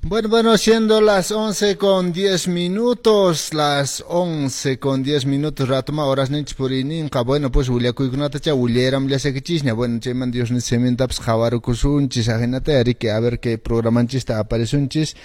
Bueno, siendo las 11:10, las 11:10, ratoma horas ninchis puriyninqa. Bueno, pues willakuykunata cha willeram llasakichisña. Bueno, chayman Dios ni simintapas qhawarukusunchis, ajinata riki, a ver qué programanchista aparesunchis.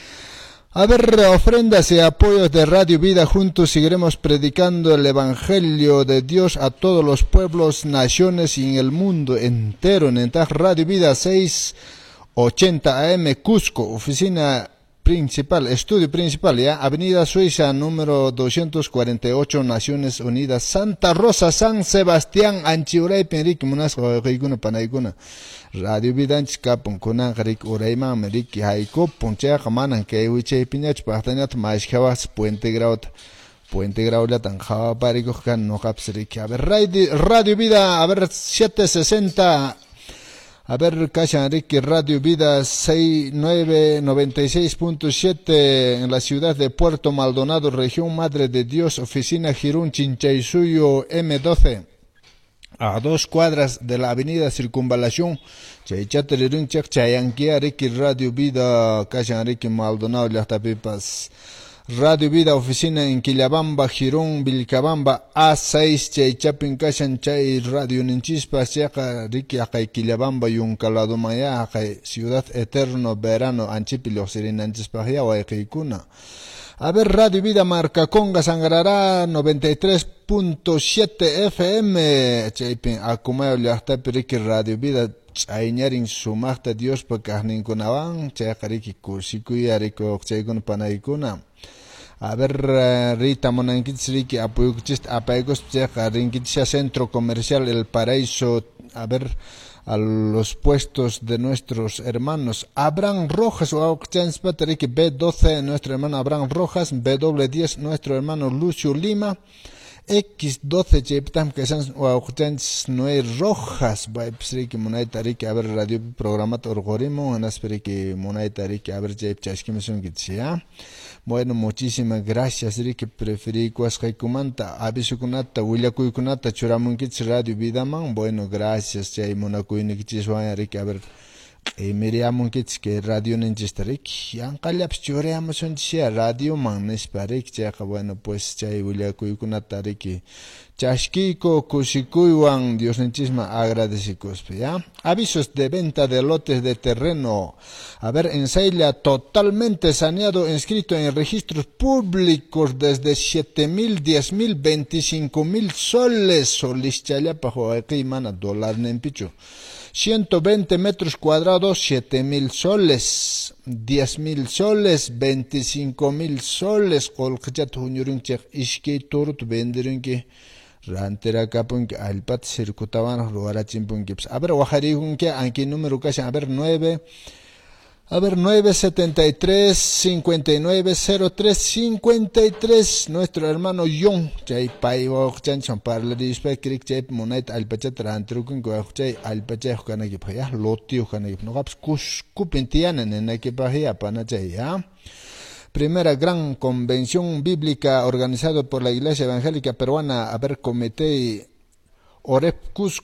A ver, ofrendas y apoyos de Radio Vida, juntos seguiremos predicando el Evangelio de Dios a todos los pueblos, naciones y en el mundo entero. En Radio Vida 680 AM Cusco, oficina principal, estudio principal, ya, Avenida Suiza, número 248, Naciones Unidas, Santa Rosa, San Sebastián, Anchiuraypin riki, munasqa wawqiykuna panaykuna. Radio Vidanchis kapun, kunanqa riki uraymanmi riki haykupun, chayqa manan kay wichaypiñachu paqtañata maskhawaqchis Puente Grauta. Puente Graullatan qhawaparikuq kan noqapas riki. A ver, Radio Vida, a ver, 760. A ver, kashan riki Radio Vida 6996.7 en la ciudad de Puerto Maldonado, región Madre de Dios, oficina Girón Chinchaysuyo M12, a 2 cuadras de la avenida Circunvalación. Chaychata rirunchik chayankia riki Radio Vida kashan riki Maldonado llaqtapipas. Radio Vida, oficina en Quillabamba, Girón, Vilcabamba, A6, chaychapin kashan chay radio ninchispas, chayqa riki aqay Quillabamba yunkaladumaya aqay Ciudad Eterno Verano anchipi lluqsirinanchispaq ya wayqiykuna. A ver, Radio Vida Marca Conga Sangrará 93.7 FM, chaypin Acomayo llaqtapi riki Radio Vida ch'ayñarin sumaqta Diospa kaqninkunawan, chayqa riki kusikuy riki chaykuna panaykuna. A ver, Rita munankichis riki apuyukichista apaykuspa chayqa rinkichis Centro Comercial El Paraíso, a ver, a los puestos de nuestros hermanos Abraham Rojas, wawqichanchispata riki B12, nuestro hermano Abraham Rojas, W10, nuestro hermano Lucio Lima, X12 chaypitam kashan wawqichanchis Noé Rojas, paypis riki munayta riki, a ver, radio programata urqurimun, hinaspa riki munayta riki, a ver, chaypi chaskimusunkichis ya. Bueno, muchísimas gracias riki preferikuwasqaykumanta avisokunata willakuykunata churamunkichis Radio Vidaman. Bueno, gracias chay munakuynikichiswan riki, a ver, q'imiriamunkichis kay radio ninchista riki, yanqallapas churayamusunchis ya radioman nispa riki, chayqa bueno, pues chay willakuykunata riki chaskiyku kusikuywan Diosninchisman agradecikuspa ya. Avisos de venta de lotes de terreno. A ver, en Sayla, totalmente saneado, inscrito en registros públicos desde 7.000, 10.000, 25.000 soles. Solischallapaq wawqiy mana dólar ninpichu. 120 metros cuadrados, 7.000 soles, 10.000 soles, 25.000 soles. Qullqichata huñurunchik iskay turuta venderunki. Rantirakapunki allpata circutawanraq ruwarachimpunkipas. A ver, waqarikunki anki número kashan, a ver, 9, a ver, 973 59 03 53, nuestro hermano John, chay pay wawqichanchis parlarispa krik chaypi munayta allpachata rantirukunki wawqichay allpachayuq kanaykipaq ya, lotiyuq kanaykipaq. Noqapas Cuscupin tiyani ninaykipaq ya, panachay ya. Primera gran convención bíblica organizada por la Iglesia Evangélica Peruana, a ver, Comité Oreb Cusco.